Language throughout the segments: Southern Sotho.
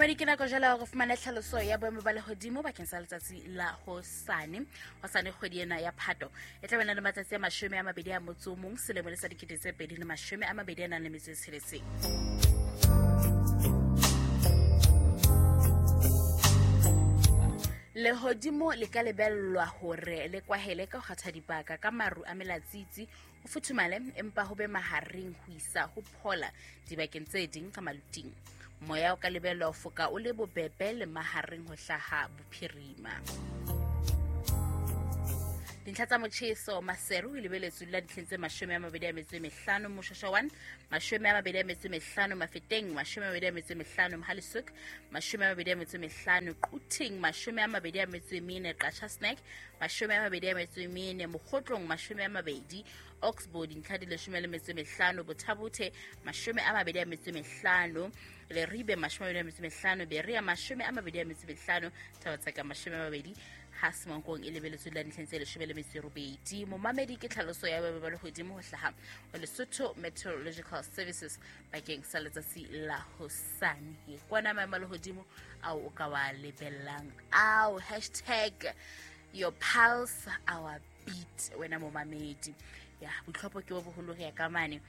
Momamedi, ke nako jala hore fumane tlhaloso ya boemo ba lehodimo bakeng sa letsatsi la hosane. Hosane kgwedi ena ya Phato e tla bena le matsatsi a 21 selemo le sa 2026. Lehodimo le ka lebellwa hore le kwahele ka ho kgatha dibaka ka maru a melatsitsi, ho futhumale empa ho be mahareng ho isa ho phola dibakeng tse ding ka maluting. Moya o ka lebellwa ho foka o le bobebe le mahareng ho hlaha bophirima. Dintlha tsa motjheso: Maseru e lebeletswe la ditlheng tse 25, Moshosha 1 25, Mafeteng 25, Mohale'shoek 25, Quthing 24, Qacha Snack 24, Mokgotlong 20, Oxbow dintlha di 15, Botha-Bothe 25, Leribe 25, Berea 25, Thaba-Tseka 20, ha Semonkong e lebeletswe la dintlheng tse 18. Momamedi, ke tlhaloso ya boemo ba lehodimo ho hlaha ho Lesotho Meteorological Services bakeng sa letsatsi la hosane. Kwana maemo a lehodimo ao o ka wa lebellang ao. #YourPulseOurBeat. Wena momamedi, ya boitlhopho ke bo boholo, re ya ka mane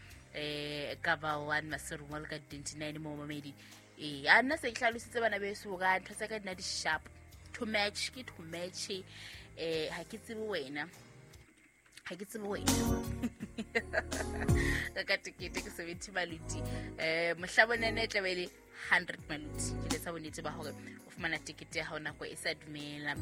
ka ba 1 Maseru Mall ka 29. Momamedi, ee, a nna se ke hlalositse bana beso ka ntho tsa ka dina di sharp to match, ke to match. Ha ke tsebe wena, ha ke tsebe wena ka tekete ke 70 maluti, mohla bonene e tlabe le 100 maluti. Ke letsa bonnete ba hore o fumana tekete ya hao nako e sa dumela.